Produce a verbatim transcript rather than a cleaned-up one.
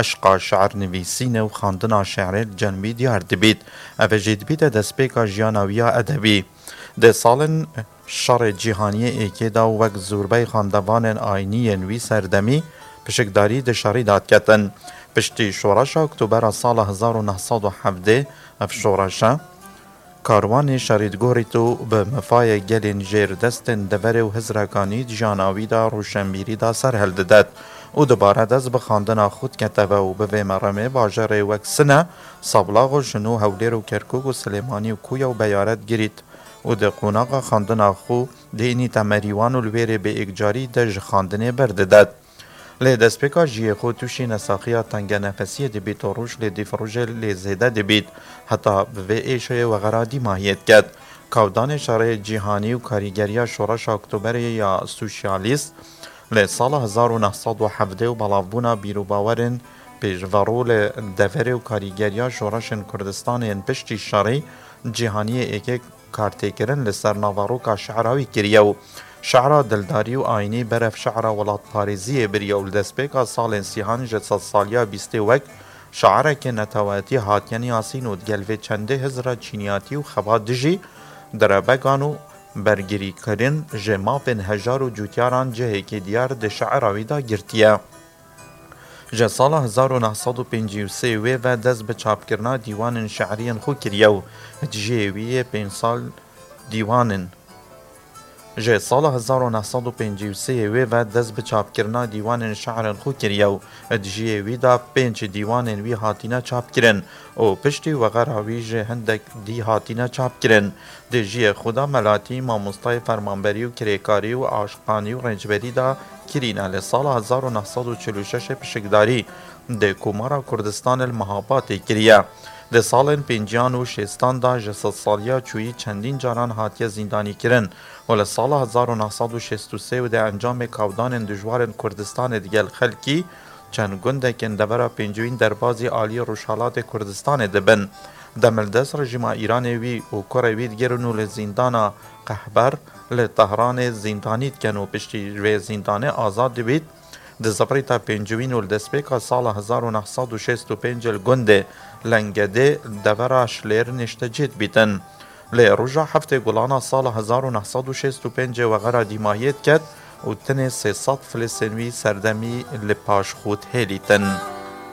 Eşqa şi'rnivîsînê û xandina şi'rê li cem wî diyar dibît. Ev jî dibîte destpêka jiyana wî ya edebî. Di salên şerê cîhaniyê êkê de wek zûrbey xandevanên ayînî yên wî serdemî pişikdarî di şerî de diketin. Piştî şoreşa Oktobera sala hezar û neh sed û hevdeh, ev şoreşe karwanê şerî digorît û bi mifayê gelên jêr destên deverê û hizrekanî di jiyana wî de rûşenbîrî de ser hildidet û dibare dest bi xandina xwe diketeve û bi vê meremê bajarê wek Sine, Sablax û Şino, Hewlêr û Kerkûk û Silêmanî û Kuya û Beyaret girît û di qonaxa xandina xwe dênîte Merîwan û li wêrê bi êkcarî dest ji xandinê berdidet. Lê destpêka jiyê xwe tûşî nesaxiya tengenefesiyê dibît û roj lê dîv rojê lê zêde dibît, heta bi vê êşeyê wexera dîmahiyê diket. Kawdanê şerê cîhanî û karîgeriya Şoreşa Oktoberê ya Sosyalîst li sala hezar û neh sed û hevdeh û belavbûna bîrûbawerên pêşverû li deverê û karîgeriya şoreşên Kurdistanê yên piştî şerê cîhaniyê êkê kartêkirin li ser naveroka şi'ra wî kiriye û şi'ra dildarî û ayînî berev şi'ra welatparêziyê biriye û li destpêka salên sîhan ji sedsaliya bîstê wek şi'rekê neteweyatî hatiye niyasîn û digel vê çendê hizra çîniyatî û xebat dijî direbegan û bergirîkirin ji mafên hejar û cûtyaran cihekî diyar di şi'ra wî de girtiye. Ji sala hezar û neh sed û pêncî û sê wê ve dest bi çapkirina dîwanên şi'riyên xwe kiriye û di jiyê wî yê pênc sal dîwanên. Ji sala hezar û neh sed û pêncî û sê wê ve dest bi çapkirina dîwanên şi'rên xwe kiriye û di jiyê wî de pênc dîwanên wî hatine çapkirin û piştî wexera wî ji hindek dî hatine çapkirin. Di jiyê xwe de melatî, mamostayê, fermanberî û kirêkarî û aşiqanî û rêncberî de kirîne. Li sala hezar û neh sed û çil û şeş pişikdarî di Komara Kurdistanê li Mehabadê kiriye. Di salên pênciyan û şêstan de ji sedsaliya çûyî çendîn caran hatiye zîndanîkirin û li sala hezar û neh sed û şêst û sê û di encamê kawdanên dijwarên Kurdistanê digel xelkî çend gundekên devera Pêncûyîn derbazî alî Rojhelatê Kurdistanê dibin. Demildest rejîma Îranê wî û kurê wî digirin û li zîndana Qehber li Tehranê zîndanî dikin û piştî vê zîndanê azad dibît, dizivirîte Pêncûyîn û li destpêka sala hezar û neh sed û şêst û pênc li gundê Lengedê devera Şilêr niştecî dibîtin. Lê roja heftê Gulana sala hezar û neh sed û şêst û pêncê wexera dîmahiyê diket û tenê sê sed Filisên wî serdemî li paş xwe dihêlîtin.